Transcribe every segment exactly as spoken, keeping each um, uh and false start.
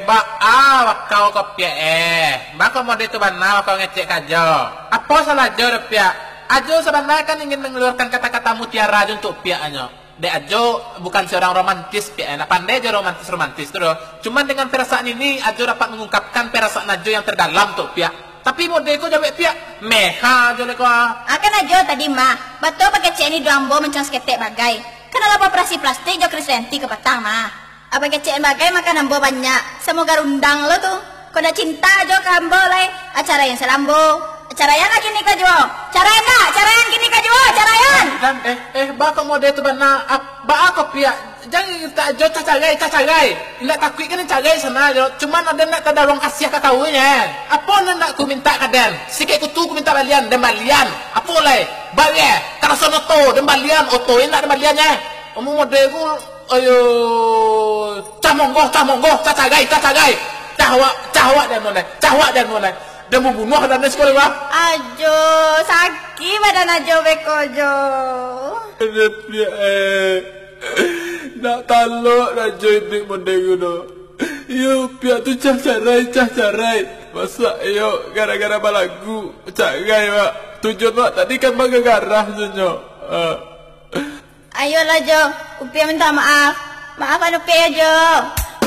Baa wakau ko, Piak, eh? Baa ko mode tu bana wakau ngecek ka Ajo? Apo salah Ajo doh, Piak? Ajo sabananyo kan ingin mangaluarkan kata-kata mutiara Ajo untuak Piak hanyo. Dek Ajo bukan seorang romantis, Piak, eh. Ndak pandai Ajo romantis-romantis tu doh. Cuman dengan perasaan ini, Ajo dapat mengungkapkan perasaan Ajo yang terdalam tu, Piak. Tapi mode ko jawek, Piak. Meha Ajo lai ko, ah. Akan Ajo tadi mah, batua bakecek ni duo ambo mancang saketek bagai. Kan alah operasi plastik jo Krisdayanti kapatang mah. Abang kecek bagai makan ambo banyak, samo garundang lo tu. Kok ndak cinta Ajo ka ambo lai? Ah, caraian sajo ambo. Caraian lah kini ko juo. Caraian ndak? Caraian kini ko juo, caraian! Dan, eh, eh, baa ko mode tu bana? Ap-, baa ko, Piak? Jan mintak Ajo tacarai, tacarai. Indak takuik kan carai sajo. Cuman aden ndak tadaruang kasiah ka kau nyo. Apo nan ndak ku mintak ka den? Sikek kutu ku mintak balian, den balian. Apo lai? Balian. Karaso oto, den balian. Oto indak den balian nyo. Amun mode ku, ayo, cah monggo, cah monggo, tacarai, tacarai. Cah awak, cah awak den nonai, cah awak den nonai. Den mambunuah den siko lai, wah. Ajo, sakik badan Ajo beko jo. Aduh, Piak, eh. Ndak talok Ajo iduik mode ko doh. Iyo, Piak tu cah carai, cah carai. Masak iyo gara-gara balagu, carai, Pak. Tujuan wak tadi kan bagagarah sajo. Ah. Ayolah, Jo. Upiak minta maaf. Maafan Upiak yo, Jo.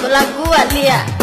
Balagu wak liak.